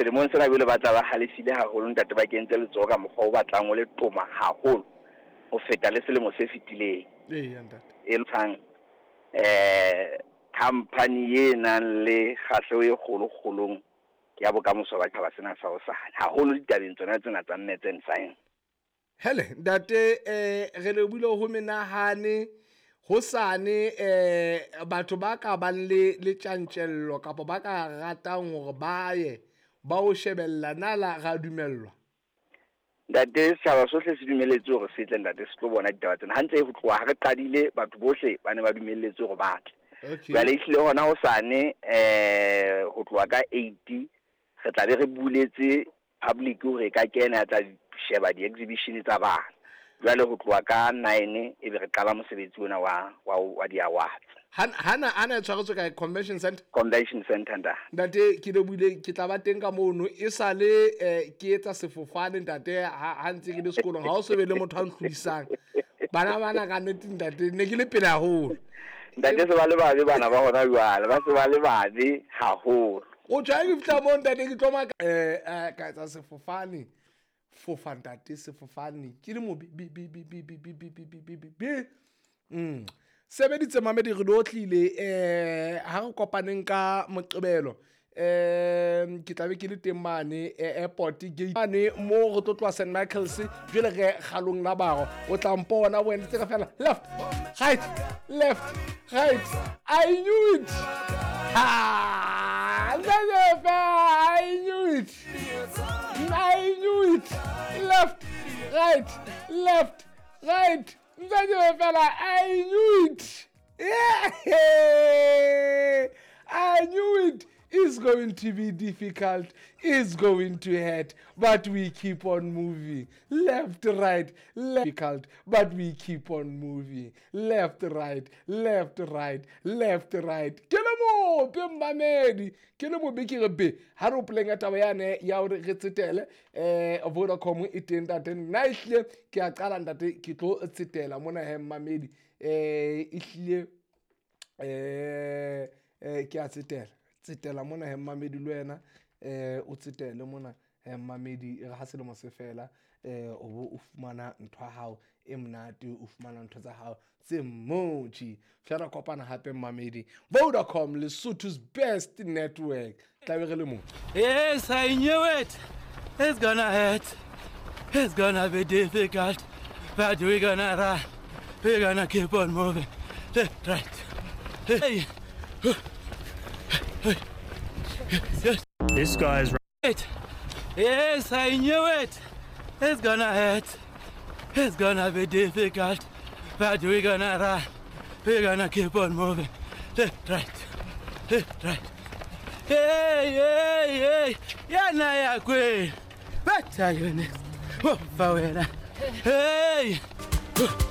Selemong sena jwale ba tla ba halefile haholo ntate, ba kentse letsoho ka mokgwa o batlang o le toma haholo ho feta le selemo se fetileng. Eya ntate. E tshang company e nang le kgahleho e kgolo-kgolong ya bokamoso ba tjhaba sena sa hosane, haholo ditabeng tsona tsena tsa maths and science. Hele ntate, re lebohile ho menahane hosane. Batho ba ka bang le tjantjello kapa ba ka ratang hore ba ye ba o shebella, na la ra dumellwa? Ntate, setjhaba sohle se dumelletswe hore se tle, ntate, se tlo bona ditaba tsena. Hantle ho tloha ha re qadile, batho bohle ba ne ba dumelletswe hore ba tle. Jwale ehlile hona hosane, ho tloha ka 8 re tla be re buletse public hore e ka kena ya tla sheba di-exhibition tsa bana. Jwale ho tloha ka 9 e be re qala mosebetsi ona wa di-awards. Hana e tshwaretswe kae? Convention center? Convention center, ntate. Ntate, ke lebohile, ke tla ba teng ka mono. E sale ke etsa sefofane ntate, ha ntse ke le sekolong, ha o so be le motho a ntlhodisang. Bana bana ka nnete ntate, ne ke le pele haholo. Ntate, se ba le babe bana ba hona jwale, ba se ba le babe haholo. O tjha, ke fihla moo ntate, ke tlo maka ka etsa sefofane. Fofa ntate, sefofane ke le mobe bi bi bi bi bi bi bi bi bi bi bi bi. Sebeditse mamedi, re lo tlile ha re kopaneng ka Moqebelo. Ke tla be ke le teng mane airport gate mane mo re tlo tloha St Michael's, jwale re kgalong la baro. O tla mpona wena tse fela left right left right. I knew it. Ha, I knew it, I knew it. Left right left right, ntate fela, I knew it. Yeah, I knew it. It's going to be difficult, it's going to hurt, but we keep on moving. Left, right, left, difficult, but we keep on moving. Left, right, left, right, left, right. Ke le mope mmamedi, ke le mobe ke re be. Ha re hopoleng ka taba yane ya hore re tsetele, Vodacom e teng ntate. Nna ehlile ke a qala ntate, ke tlo tsetela mona he mmamedi. Ehlile ke a tsetela. Tsetela mona he mmamedi le wena, o tsetele mona he mmamedi, e re ha selemo se fela, o bo o fumana ntho ya hao e monate, o fumana ntho tsa hao tse motjhi. Fela kopana hape mmamedi, Vodacom, Lesotho's best network. Tla be re le mo. Yes, I knew it. It's gonna hurt. It's gonna be difficult, but we're gonna run. We're gonna keep on moving. Left, right. Hey. Yes. This guy's right. Yes, I knew it. It's gonna hurt. It's gonna be difficult, but we're gonna run. We're gonna keep on moving. Left, right. Left, right. Hey, hey, hey. Yana ya kwe. Better you next. Oh, Hey.